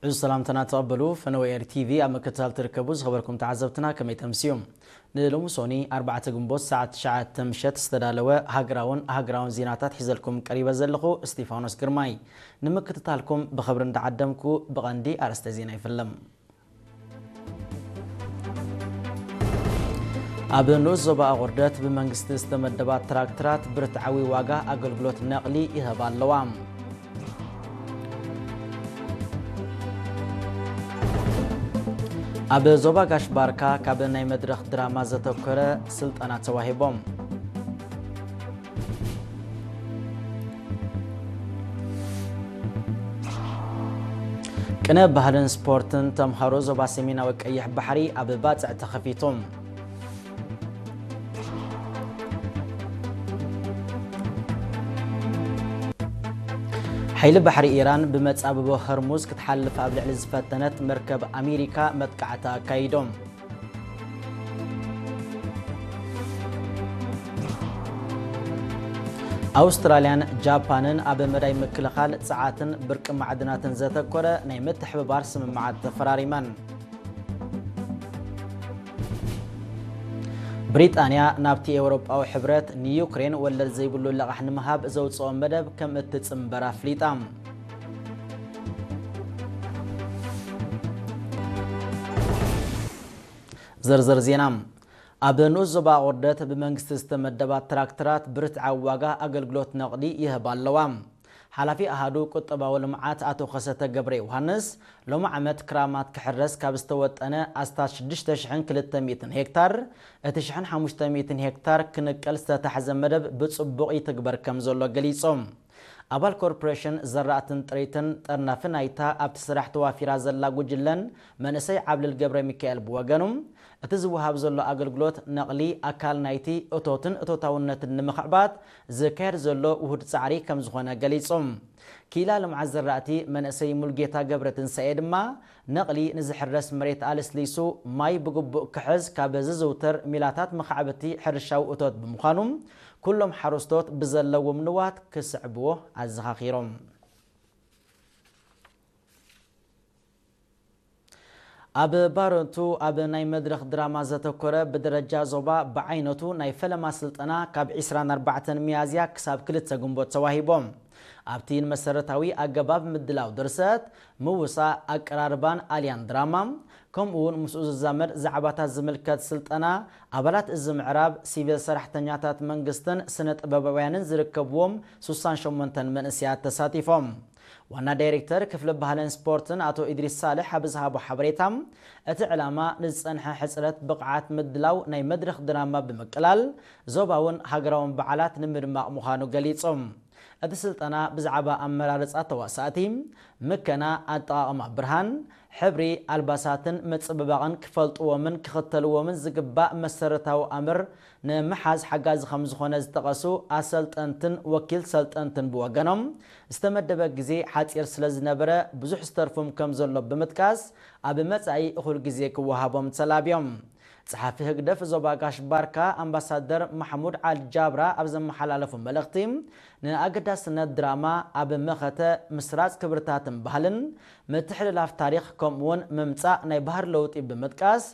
ዕዙዝ ሰላምታና ተቐበሉ። ፈነወ ኤር ቲቪ ኣብ ምክትታል ትርከቡ ዝኸበርኩም ተዓዘብትና ከመይ ተምስዩ? ንሎሚ ሶኒ ኣርባዕተ ግንቦት ሰዓት ትሽዓተ ምሸት ዝተዳለወ ሃገራውን ሃገራውን ዜናታት ሒዘልኩም ቀሪበ ዘለኹ እስቲፋኖስ ግርማይ። ንምክትታልኩም ብኽብሪ እንዳዓደምኩ ብቐንዲ ኣርእስተ ዜና ይፍለም። ኣብ ንኡስ ዞባ ኣቑርደት ብመንግስቲ ዝተመደባ ትራክተራት ብርትዓዊ ዋጋ ኣገልግሎት ነቕሊ ይህባ ኣለዋ። ኣብ ዞባ ጋሽ ባርካ ካብ ናይ መድረኽ ድራማ ዘተኮረ ስልጠና ተዋሂቦም። ቅነ ባህልን ስፖርትን ተምሃሮ ዞባ ሰሜናዊ ቀይሕ ባሕሪ ኣብ ባጽዕ ተኸፊቱ። ሓይሊ ባሕሪ ኢራን ብመጻብቦ ሆርሙዝ ክትሓልፍ ኣብ ልዕሊ ዝፈተነት መርከብ ኣሜሪካ መጥቃዕቲ ኣካይዶም። ኣውስትራልያን ጃፓንን ኣብ መዳይ ምክልኻል ጸዓትን ብርቂ ማዕድናትን ዘተኮረ ናይ ምትሕብባር ስምምዓት ተፈራሪመን። ብሪጣንያ ናብቲ ኤውሮጳዊ ሕብረት ንዩክሬን ወለድ ዘይብሉ ልቓሕ ንምሃብ ዘውጽኦ መደብ ከም እትጽንበር ኣፍሊጣ። ዝርዝር ዜና። ኣብ ንኡስ ዞባ ኣቑርደት ብመንግስቲ ዝተመደባ ትራክተራት ብርትዓዊ ዋጋ ኣገልግሎት ነቕሊ ይህባ ኣለዋ። ሓላፊ ኣሃዱ ቁጠባዊ ልምዓት ኣቶ ከሰተ ገብረ ዮሃንስ፣ ሎሚ ዓመት ክራማት ክሕረስ ካብ ዝተወጠነ ኣስታት ሽዱሽተ ሽሕን ክልተ ሚእትን ሄክታር፣ እቲ ሽሕን ሓሙሽተ ሚእትን ሄክታር ክንቀል ዝተታሕዘ መደብ ብጽቡቕ ይትግበር ከም ዘሎ ገሊጾም። ኣባል ኮርፖሬሽን ዘራእትን ጥሪትን ጠርናፊ ናይታ ኣብቲ ስራሕ ተዋፊራ ዘላ ጉጅለን መንእሰይ ዓብልል ገብረ ሚካኤል ብወገኑ፣ እቲ ዝወሃብ ዘሎ ኣገልግሎት ነቕሊ ኣካል ናይቲ እቶትን እቶታውነትን ንምኽዕባት ዝካየድ ዘሎ ውሁድ ጻዕሪ ከም ዝኾነ ገሊጹ። ክኢላ ልምዓት ዘራእቲ መንእሰይ ሙልጌታ ገብረ ትንሳኤ ድማ፣ ነቕሊ ንዝሕረስ መሬት ኣልስሊሱ ማይ ብግቡእ ክሕዝ ካብ ዝዝውተር ሚላታት መኻዕብቲ ሕርሻዊ እቶት ብምዃኑ፣ ኩሎም ሓረስቶት ብዘለዎም ንዋት ክስዕብዎ ኣዘኻኺሮም። ኣብ ባረንቱ ኣብ ናይ መድረኽ ድራማ ዘተኮረ ብደረጃ ዞባ ብዓይነቱ ናይ ፈለማ ስልጠና ካብ ዕስራን ኣርባዕተን ሚያዝያ ክሳብ ክልተ ግንቦት ተዋሂቦም። ኣብቲ ንመሰረታዊ ኣገባብ ምድላው ድርሰት፣ ምውሳእ፣ ኣቀራርባን ኣልያን ድራማ፣ ከምኡ እውን ምስኡ ዝዛመድ ዛዕባታት ዝምልከት ስልጠና፣ ኣባላት እዚ ምዕራብ ሲቪል ሰራሕተኛታት መንግስትን ስነ ጥበባውያንን ዝርከብዎም ሱሳን ሸሞንተን መንእሰያት ተሳቲፎም። ዋና ዳይሬክተር ክፍሊ ባህልን ስፖርትን ኣቶ ኢድሪስ ሳልሕ ኣብ ዝሃቦ ሓበሬታ፣ እቲ ዕላማ ንዝጸንሐ ሕጽረት ብቕዓት ምድላው ናይ መድረኽ ድራማ ብምቅላል፣ ዞባውን ሃገራውን በዓላት ንምድማቕ ምዃኑ ገሊጹ። እቲ ስልጠና ብዛዕባ ኣመራርጻ ተዋሳእቲ፣ ምከና ኣጠቓቕማ ብርሃን፣ ሕብሪ፣ ኣልባሳትን ምጽብባቕን ክፈልጥዎምን ክኽተልዎምን ዝግባእ መሰረታዊ ኣምር ንምሓዝ ሓጋዚ ከም ዝኾነ ዝጠቐሱ ኣሰልጠንትን ወኪል ሰልጠንትን ብወገኖም፣ ዝተመደበ ግዜ ሓጺር ስለ ዝነበረ ብዙሕ ዝተርፎም ከም ዘሎ ብምጥቃስ፣ ኣብ መጻኢ እኹል ግዜ ክወሃቦም ተላብዮም። ጸሓፊ ህግደፍ ዞባ ጋሽ ባርካ ኣምባሳደር ማሕሙድ ዓል ጃብራ ኣብ ዘመሓላለፉ መልእኽቲ፣ ንኣገዳስነት ድራማ ኣብ መኸተ ምስራጽ ክብርታትን ባህልን፣ ምትሕልላፍ ታሪኽ፣ ከምኡውን ምምጻእ ናይ ባህሪ ለውጢ ብምጥቃስ፣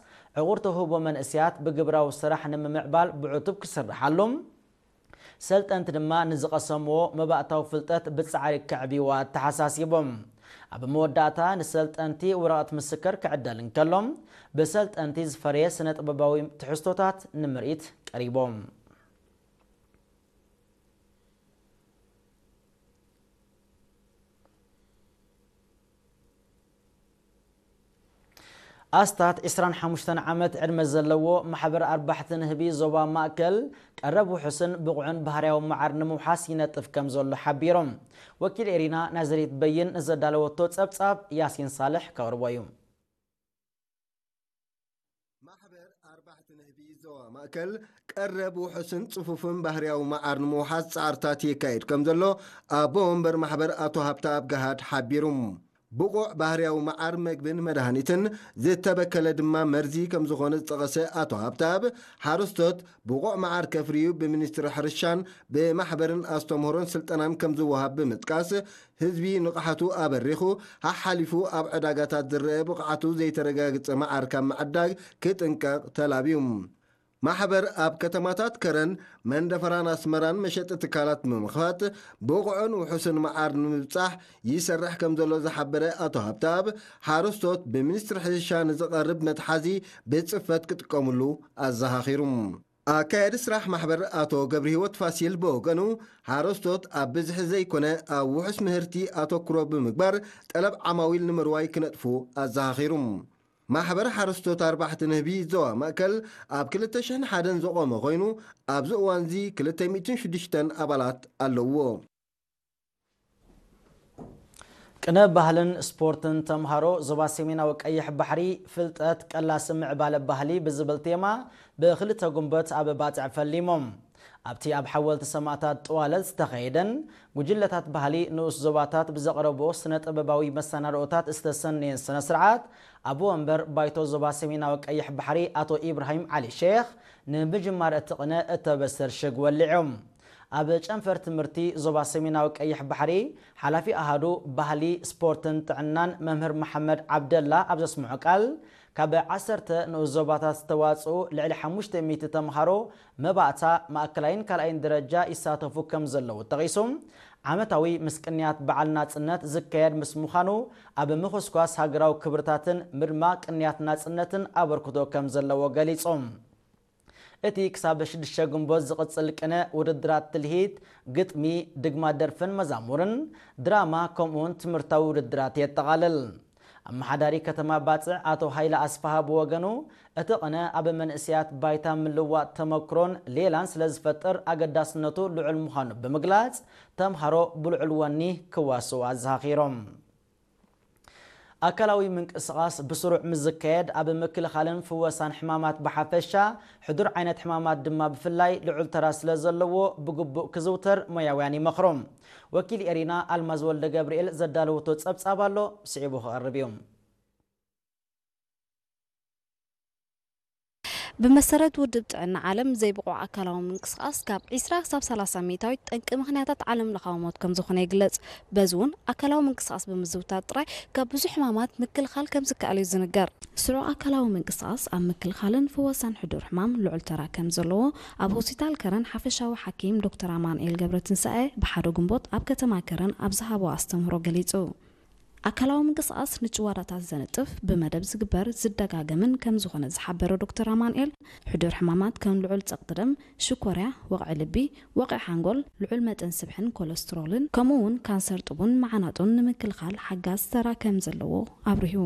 ዕቑር ተውህቦ መንእሰያት ብግብራዊ ስራሕ ንምምዕባል ብዕቱብ ክስርሓሉ፣ ሰልጠንቲ ድማ ንዝቐሰምዎ መባእታዊ ፍልጠት ብጻዕሪ ከዕብይዎ ኣተሓሳሲቦም። ኣብ መወዳእታ ንሰልጠንቲ ወረቐት ምስክር ክዕደል እንከሎ፣ ብሰልጠንቲ ዝፈረየ ስነ ጥበባዊ ትሕዝቶታት ንምርኢት ቀሪቦም። ኣስታት ዕስራን ሓሙሽተን ዓመት ዕድመ ዘለዎ ማሕበር ኣርባሕቲ ንህቢ ዞባ ማእከል ቀረብ ውሑስን ብቑዕን ባህርያዊ መዓር ንምውሓስ ይነጥፍ ከም ዘሎ ሓቢሮም። ወኪል ኤሪና ናዝሬት በይን ንዘዳለወቶ ጸብጻብ ያሲን ሳልሕ ከቕርቦ እዩ። ማሕበር ኣርባሕቲ ንህቢ ዞባ ማእከል ቀረብ ውሑስን ጽፉፍን ባህርያዊ መዓር ንምውሓስ ጻዕርታት የካይድ ከም ዘሎ ኣቦ ወንበር ማሕበር ኣቶ ሃብተኣብ ገሃድ ሓቢሩ። ብቑዕ ባህርያዊ መዓር መግብን መድሃኒትን ዝተበከለ ድማ መርዚ ከም ዝኾነ ዝጠቐሰ ኣቶ ሃብተኣብ፣ ሓረስቶት ብቑዕ መዓር ከፍርዩ ብሚኒስትሪ ሕርሻን ብማሕበርን ኣስተምህሮን ስልጠናን ከም ዝወሃብ ብምጥቃስ፣ ህዝቢ ንቕሓቱ ኣበሪኹ፣ ሓሓሊፉ ኣብ ዕዳጋታት ዝረአ ብቕዓቱ ዘይተረጋግጸ መዓር ካብ ምዕዳግ ክጥንቀቕ ተላብዩ። ማሕበር ኣብ ከተማታት ከረን፣ መንደፈራን ኣስመራን መሸጢ ትካላት ብምኽፋት ብቑዕን ውሑስን መዓር ንምብጻሕ ይሰርሕ ከም ዘሎ ዝሓበረ ኣቶ ሃብተኣብ፣ ሓረስቶት ብሚኒስትሪ ሕርሻ ንዝቐርብ መትሓዚ ብጽፈት ክጥቀምሉ ኣዘኻኺሩ። ኣካያዲ ስራሕ ማሕበር ኣቶ ገብረህይወት ፋሲል ብወገኑ፣ ሓረስቶት ኣብ ብዝሒ ዘይኮነ ኣብ ውሑስ ምህርቲ ኣተኩሮ ብምግባር ጠለብ ዓማዊል ንምርዋይ ክነጥፉ ኣዘኻኺሩ። ማሕበር ሓረስቶት ኣርባሕቲ ንህቢ ዞባ ማእከል ኣብ ክልተ ሽሕን ሓደን ዝቖመ ኮይኑ፣ ኣብዚ እዋንዚ ክልተ ሚእትን ሽዱሽተን ኣባላት ኣለውዎ። ቅነ ባህልን ስፖርትን ተምሃሮ ዞባ ሰሜናዊ ቀይሕ ባሕሪ ፍልጠት ቀላሲ ምዕባለ ባህሊ ብዝብል ቴማ ብክልተ ጉንበት ኣብ ባጽዕ ፈሊሞም። ኣብቲ ኣብ ሓወልቲ ሰማእታት ጥዋለት ዝተኸየደን ጉጅለታት ባህሊ ንኡስ ዞባታት ብዘቕረቦ ስነ ጥበባዊ መሰናድኦታት ዝተሰነየን ስነ ስርዓት ኣቦ ወንበር ባይቶ ዞባ ሰሜናዊ ቀይሕ ባሕሪ ኣቶ ኢብራሂም ዓሊ ሼኽ ንምጅማር እቲ ቅነ እተበሰር ሽግ ወሊዖም። ኣብ ጨንፈር ትምህርቲ ዞባ ሰሜናዊ ቀይሕ ባሕሪ ሓላፊ ኣሃዱ ባህሊ፣ ስፖርትን ጥዕናን መምህር መሓመድ ዓብደላ ኣብ ዘስምዖ ቃል፣ ካብ ዓሰርተ ንኡስ ዞባታት ዝተዋጽኡ ልዕሊ ሓሙሽተ ሚእቲ ተምሃሮ መባእታ ማእከላይን ካልኣይን ደረጃ ይሳተፉ ከም ዘለዉ ጠቒሱ፣ ዓመታዊ ምስ ቅንያት በዓል ናጽነት ዝካየድ ምስ ምዃኑ፣ ኣብ ምኹስኳስ ሃገራዊ ክብርታትን ምድማቕ ቅንያት ናጽነትን ኣበርክቶ ከም ዘለዎ ገሊጾም። እቲ ክሳብ ሽዱሽተ ግንቦት ዝቕጽል ቅነ ውድድራት ትልሂት፣ ግጥሚ፣ ድግማ ደርፍን መዛሙርን፣ ድራማ ከምኡውን ትምህርታዊ ውድድራት የጠቓልል። ኣመሓዳሪ ከተማ ባጽዕ ኣቶ ሃይለ ኣስፍሃ ብወገኑ፣ እቲ ቅነ ኣብ መንእሰያት ባይታ ምልዋጥ ተመክሮን ሌላን ስለ ዝፈጥር ኣገዳስነቱ ልዑል ምዃኑ ብምግላጽ፣ ተምሃሮ ብልዑል ወኒ ክዋስኡ ኣዘኻኺሮም። ኣካላዊ ምንቅስቓስ ብስሩዕ ምስ ዝካየድ ኣብ ምክልኻልን ፍወሳን ሕማማት ብሓፈሻ፣ ሕዱር ዓይነት ሕማማት ድማ ብፍላይ ልዑል ተራ ስለ ዘለዎ ብግቡእ ክዝውተር ሞያውያን ይመኽሩ። ወኪል ኤሪና ኣልማዝ ወልደ ገብርኤል ዘዳለወቶ ጸብጻብ ኣሎ፣ ስዒቡ ክቐርብ እዩ። ብመሰረት ውድብ ጥዕና ዓለም፣ ዘይብቑዕ ኣካላዊ ምንቅስቓስ ካብ ዒስራ ክሳብ ሰላሳ ሚእታዊት ጠንቂ ምኽንያታት ዓለም ለኻዊ ሞት ከም ዝኾነ ይግለጽ። በዚ እውን ኣካላዊ ምንቅስቓስ ብምዝውታር ጥራይ ካብ ብዙሕ ሕማማት ምክልኻል ከም ዝከኣል እዩ ዝንገር። ስሩዕ ኣካላዊ ምንቅስቓስ ኣብ ምክልኻልን ፍወሳን ሕዱር ሕማም ልዑል ተራ ከም ዘለዎ ኣብ ሆስፒታል ከረን ሓፈሻዊ ሓኪም ዶክተር ኣማኑኤል ገብረትንሳኤ ብሓደ ግንቦት ኣብ ከተማ ከረን ኣብ ዝሃቦ ኣስተምህሮ ገሊጹ። ኣካላዊ ምንቅስቓስ ንጭዋዳታት ዘንጥፍ፣ ብመደብ ዝግበር ዝደጋገምን ከም ዝኾነ ዝሓበረ ዶክተር ኣማኑኤል፣ ሕዱር ሕማማት ከም ልዑል ጸቕጢ ደም፣ ሽኮርያ፣ ወቕዒ ልቢ፣ ወቕዒ ሓንጎል፣ ልዑል መጠን ስብሕን ኮለስትሮልን፣ ከምኡ እውን ካንሰር ጡብን መዓናጡን ንምክልኻል ሓጋዝ ተራ ከም ዘለዎ ኣብሪሁ።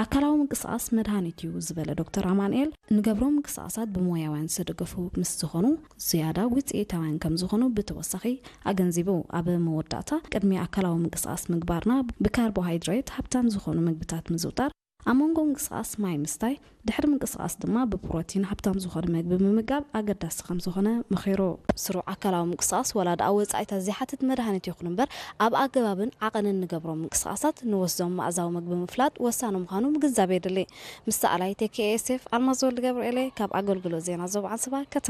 ኣካላዊ ምንቅስቓስ መድሃኒት እዩ ዝበለ ዶክተር ኣማኑኤል፣ ንገብሮ ምንቅስቓሳት ብሞያውያን ዝተደገፉ ምስ ዝኾኑ ዝያዳ ውፅኢታውያን ከም ዝኾኑ ብተወሳኺ ኣገንዚቡ። ኣብ መወዳእታ፣ ቅድሚ ኣካላዊ ምንቅስቓስ ምግባርና ብካርቦሃይድሬት ሃብታም ዝኾኑ ምግብታት ምዝውጣር፣ ኣብ መንጎ ምንቅስቓስ ማይ ምስታይ፣ ድሕሪ ምንቅስቓስ ድማ ብፕሮቲን ሃብታም ዝኾነ ምግቢ ምምጋብ ኣገዳሲ ከም ዝኾነ መኺሩ። ስሩዕ ኣካላዊ ምንቅስቓስ ዋላ ደኣ ወጻኢታት ዘይሓትት መድሃኒት ይኹን እምበር፣ ኣብ ኣገባብን ዓቐንን ንገብሮም ምንቅስቓሳት ንወስዶም መኣዛዊ ምግቢ ምፍላጥ ወሳኒ ምዃኑ ምግንዛብ የድሊ። ምስ ሰኣላይ ቴኬኤስኤፍ ኣልማዝ ወልድ ገብርኤለ ካብ ኣገልግሎት ዜና ዞባ ዓንሰባ ከተማ